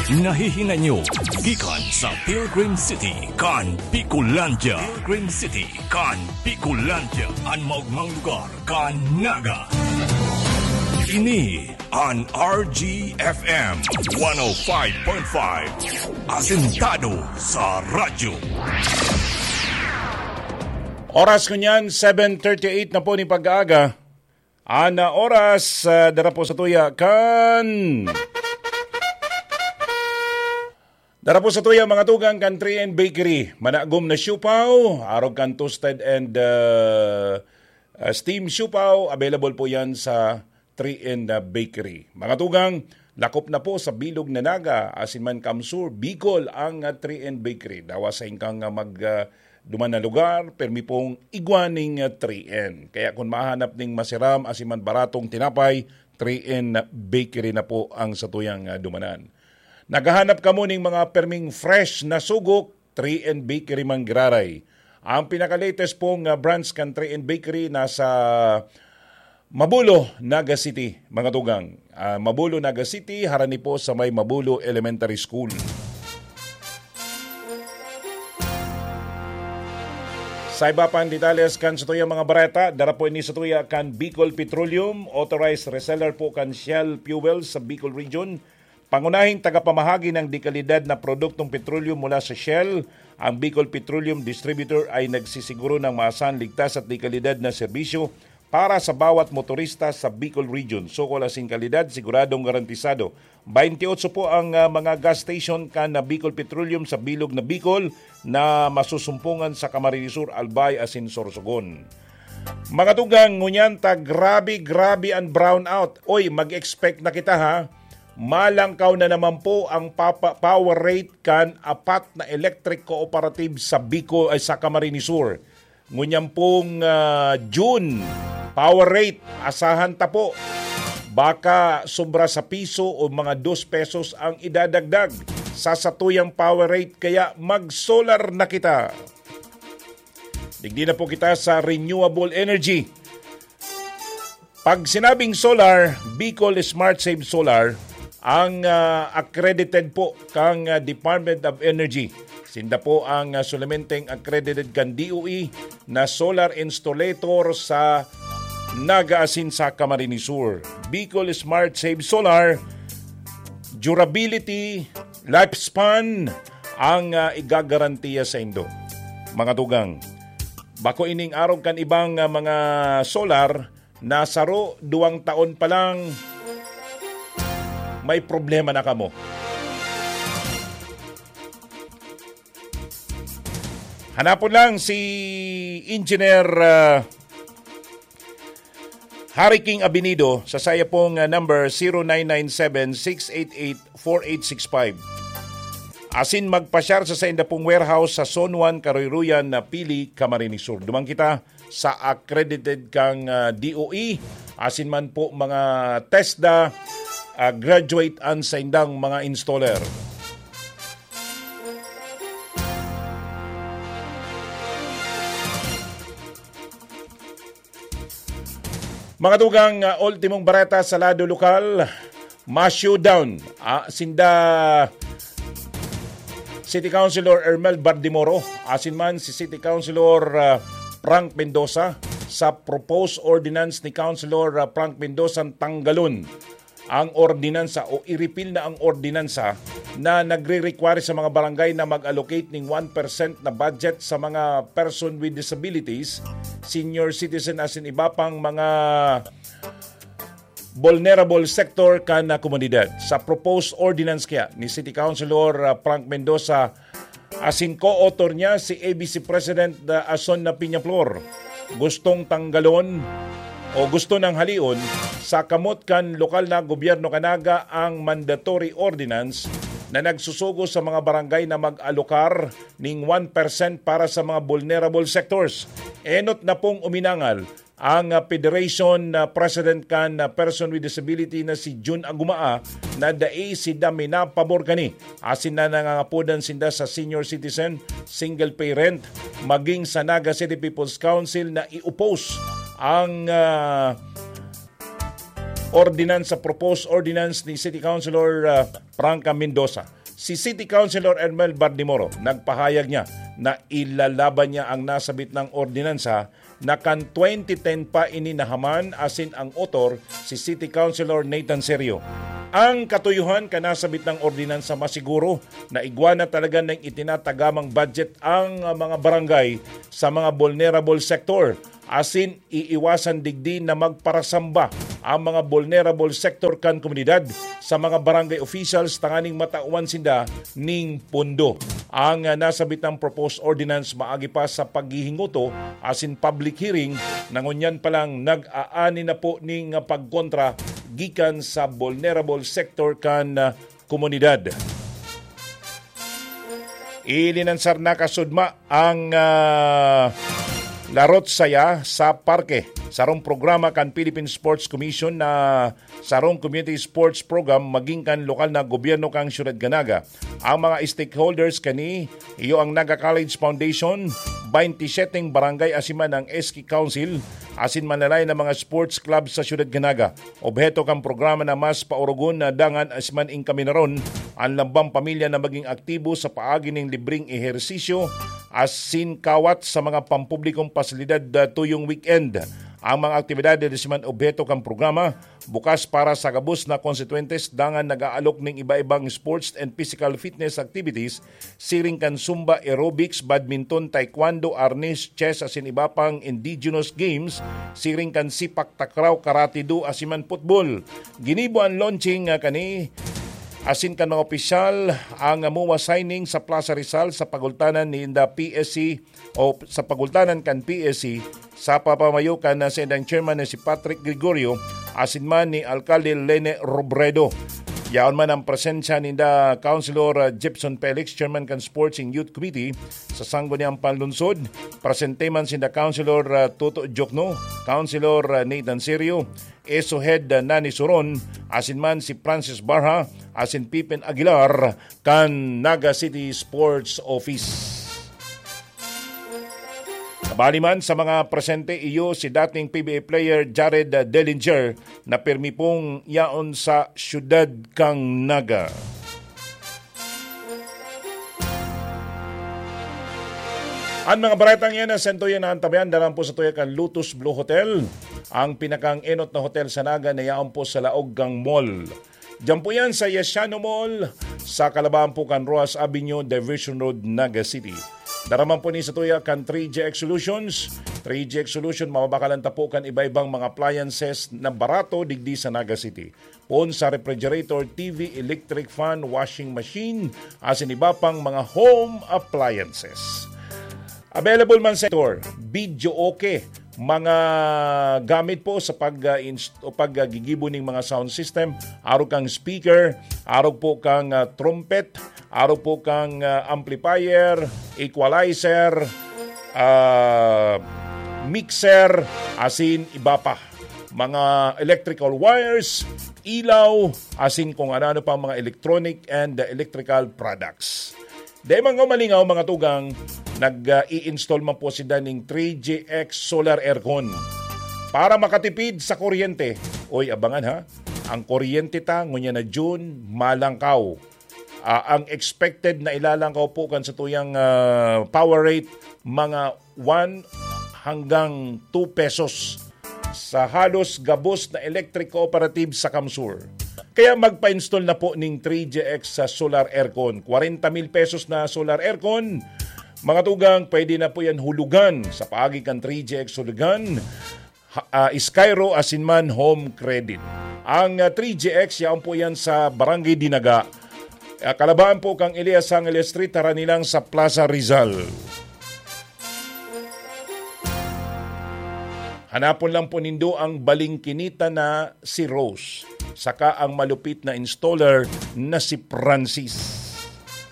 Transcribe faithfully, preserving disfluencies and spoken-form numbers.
Nahihinay nyo gikan sa Pilgrim City kan Bicolandia. Pilgrim City kan Bicolandia, an maogmang lugar kan Naga. Ini an R G F M one oh five point five, asentado sa radyo. Oras ko niyan, seven thirty-eight na po ni pag-aaga. Ana oras, ah, dara po sa tuya kan dara po sa tuya, mga tugang, kan three N Bakery. Managom na siopao, arog kan toasted and, ah, ah, steam siopao, available po yan sa three N Bakery. Mga tugang, lakop na po sa bilog na Naga, asin man Kamsur, Bicol, ang, ah, three N Bakery. Dawa sa ingkang, ah, mag, ah, duman na lugar, permi pong igwa ning, ah, three N. Kaya kun mahanap ning masiram asin man baratong tinapay, three N Bakery na po ang satuyang, ah, dumanan. Naghahanap kamo ning mga perming fresh na sugok, three N Bakery man giraray. Ang pinaka-latest pong, ah, branch kan three N Bakery nasa Mabulo, Naga City, mga tugang. Ah, Mabulo, Naga City, harani po sa may Mabulo Elementary School. Sa iba pang detalles kan satuyang mga bareta, dara po ini satuya kan Bicol Petroleum, authorized reseller po kan Shell Fuel sa Bicol Region. Pangunahing tagapamahagi ng dekalidad na produktong petrolyo mula sa Shell, ang Bicol Petroleum Distributor ay nagsisiguro ng maasahan, ligtas at dekalidad na serbisyo para sa bawat motorista sa Bicol Region. Sukol asin kalidad, siguradong garantisado. Baintiotso po ang, ah, mga gas station kan na Bicol Petroleum sa bilog na Bicol na masusumpungan sa Camarines Sur, Albay asin Sorsogon. Mga tugang, ngunyan ta grabe, grabe ang brownout. Oy, mag-expect na kita, ha. Malangkaw na naman po ang papa-, power rate kan apat na electric cooperative sa Bicol, ay, sa Camarines Sur. Ngunyan pong, ah, June, power rate, asahan ta po. Baka sobra sa piso o mga dos pesos ang idadagdag sa satuyang power rate, kaya mag-solar na kita. Digdi na po kita sa renewable energy. Pag sinabing solar, Bicol Smart Save Solar, ang, ah, accredited po kang, ah, Department of Energy. Sinda po ang, ah, solamenteng accredited kan D O E na solar installator sa Naga asin sa Camarines Sur. Bicol Smart Save Solar, durability, lifespan, ang, ah, igagarantiya saindo, mga tugang. Bako ining arog kan ibang, ah, mga solar na saro, duwang taon pa lang, may problema na kamo. Hanapon lang si Engineer, ah, Harry King Abinido sa saya pong, ah, number, zero nine nine seven, six eight eight, four eight six five. Asin magpasyar sa sainda pong warehouse sa Zone one, Karoyroyan na Pili, Camarines Sur. Duman kita sa accredited kang, ah, D O E, asin man po mga TESDA, ah, graduate an saindang mga installer. Mga tugang, ah, ultimong bareta sa lado lokal, ma-showdown, ah, sinda City Councilor Ermel Bardimoro, asin man si City Councilor, ah, Frank Mendoza sa proposed ordinance ni Councilor, ah, Frank Mendoza, tanggalon ang ordinansa o i-repeal na ang ordinansa na nagre-require sa mga barangay na mag-allocate ning one percent na budget sa mga person with disabilities, senior citizen asin iba pang mga vulnerable sector kan, ah, komunidad. Sa proposed ordinance kaya ni City Councilor, ah, Frank Mendoza, asin co-author niya si A B C President, ah, Ason na Peñaflor, gustong tanggalon o gusto nang halion sa kamot kan lokal na gobyerno kan Naga ang mandatory ordinance na nagsusugo sa mga barangay na mag-alokar ning one percent para sa mga vulnerable sectors. Enot na pong uminangal ang, ah, Federation, ah, President kan, ah, Person with Disability na si Jun Agumaa na dai sinda minapabor kani, asin na nangangapodan sinda sa senior citizen, single parent, maging sa Naga City People's Council na i-oppose ang, ah, ordinansa, proposed ordinance ni City Councilor, ah, Franca Mendoza. Si City Councilor Ermel Bardimoro nagpahayag niya na ilalaban niya ang nasabit ng ordinansa na kan twenty ten pa ini nahaman asin ang otor si City Councilor Nathan Serio. Ang katuyohan kan nasabit ng ordinansa masiguro na igwa na talaga ng itinatagamang budget ang, ah, mga barangay sa mga vulnerable sector. Asin iiwasan digdi na magparasamba ang mga vulnerable sector kan komunidad sa mga barangay officials tanganing matawan sinda ning pondo. Ang, ah, nasabitang proposed ordinance maagi pa sa paghihinguto asin public hearing na ngunyan pa lang nag-aani na po ning pagkontra gikan sa vulnerable sector kan, ah, komunidad. Ilinansar na kasudma ang, ah, Larot Saya sa Parke, sarong programa kan Philippine Sports Commission na sarong community sports program maging kan lokal na gobyerno kan Siyudad kan Naga. Ang mga stakeholders kani iyo ang Naga College Foundation, twenty-seven barangay asin man ang S K Council, asin manlalay na mga sports club sa Siyudad kan Naga. Obheto kan programa na mas paurugon na dangan asin man inkaminaron an lambang pamilya na maging aktibo sa paagi nin libreng ehersisyo asin kawat sa mga pampublikong pasilidad, ah, tuyong weekend. Ang mga aktibidad asin man obheto kan programa bukas para sa gabos na konstituyentes dangan nag-aalok nin iba-ibang sports and physical fitness activities siring kan zumba, aerobics, badminton, taekwondo, arnis, chess asin iba pang indigenous games, siring kan sipak takraw, karate do asin man football. Ginibo an launching, ah, kani asin kan mga opisyal ang, ah, M O A signing sa Plaza Rizal sa pagultanan ninda P S C o sa pagultanan kan P S C sa papamayo kan, ah, saindang chairman na si Patrick Gregorio asin man ni Alkalde Lene Robredo. Yaon man ang presensya ninda Councilor, ah, Jepson Felix, chairman kan Sports and Youth Committee sa Sangguniang Panlungsod. Presente man sinda Councilor, ah, Toto Jokno, Councilor, ah, Nathan Serio, Esohed, ah, Nani Suron, asin man si Francis Barha, asin Pipen Aguilar, kan Naga City Sports Office. Kabali man sa mga presente iyo si dating P B A player Jared Dellinger na pirmi pong yaon sa siyudad kan Naga. An mga baretang yan na sento yan na antabayan, daran po sa tuya kan Lotus Blue Hotel, ang pinakang enot na hotel sa Naga na yaon po sa laog kang mall. Diyan po yan sa Yasiano Mall, sa kalabaan po kan Roxas Avenue, Diversion Road, Naga City. Daraman po ni sa tuya kan three G X Solutions. Three G X Solution, mababakalan ta po kan iba-ibang mga appliances na barato digdi sa Naga City. Poon sa refrigerator, T V, electric fan, washing machine, asin iba pang mga home appliances. Available man sa store, video okay, mga gamit po sa pag, ah, inst-, o pag, ah, gigibo ning mga sound system, arog kang speaker, arog po kang, ah, trumpet, arog po kang, ah, amplifier, equalizer, ah, mixer, asin iba pa. Mga electrical wires, ilaw, asin kung ano-ano pang mga electronic and electrical products. Dai man ko malingaw, mga tugang, nag, ah, i-install man po sinda ning three G X solar aircon. Para makatipid sa kuryente, oy, abangan ha, ang kuryente ta, ngunyan na June, malangkaw. Ah, ang expected na ilalangkaw po kan sa tuyang, ah, power rate, mga one hanggang two pesos sa halos gabos na electric cooperative sa Kamsur. Kaya magpa-install na po ning three G X sa solar aircon. Kwarenta mil pesos na solar aircon, mga tugang, pwede na po yan hulugan sa paagi kan three G X Hulugan, ha-, ah, Skyro asin man Home Credit. Ang, ah, three G X, yaon po yan sa Barangay Dinaga. Ah, kalabaan po kang Elias Angeles Street, harani lang sa Plaza Rizal. Hanapon lang po nindo ang balingkinita na si Rose, saka ang malupit na installer na si Francis.